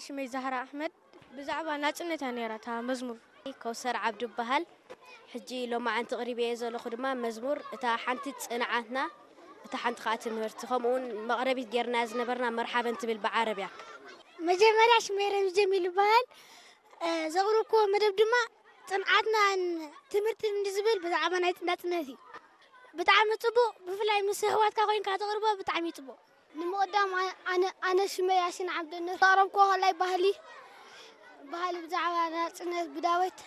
ሽመይ ዛህራ ኣሕመድ። ብዛዕባ ናጽነት እያ ነይራ እታ መዝሙር። ከውሰር ዓብዱ እበሃል። ሕጂ ሎማዓንቲ ቅሪበ እየ ዘለኹ ድማ መዝሙር እታ ሓንቲ ጽንዓትና፣ እታ ሓንቲ ከዓ ትምህርቲ፣ ከምኡ እውን መቕረቢት ጌርና ዝነበርና መርሓበን ትብል ብዓረብያ። መጀመርያ ሽመይ ረምዚ ጀሚል ይበሃል። እ፣ ዘቕረብክዎ መደብ ድማ ጽንዓትናን ትምህርትን እንዲ ዝብል ብዛዕባ ናይ ናጽነት እዩ። ብጣዕሚ ጽቡቕ፣ ብፍላይ ምስ ኣሕዋትካ ኮይንካ ተቕርቦ ብጣዕሚ እዩ ጽቡቕ። ንምቕዳም ኣነ ኣነ ሽመይ ያሲን ዓብደነት ዘቕረብክዎ ከላይ ባህሊ ባህሊ ብዛዕባ ናጽነት ብዳዊት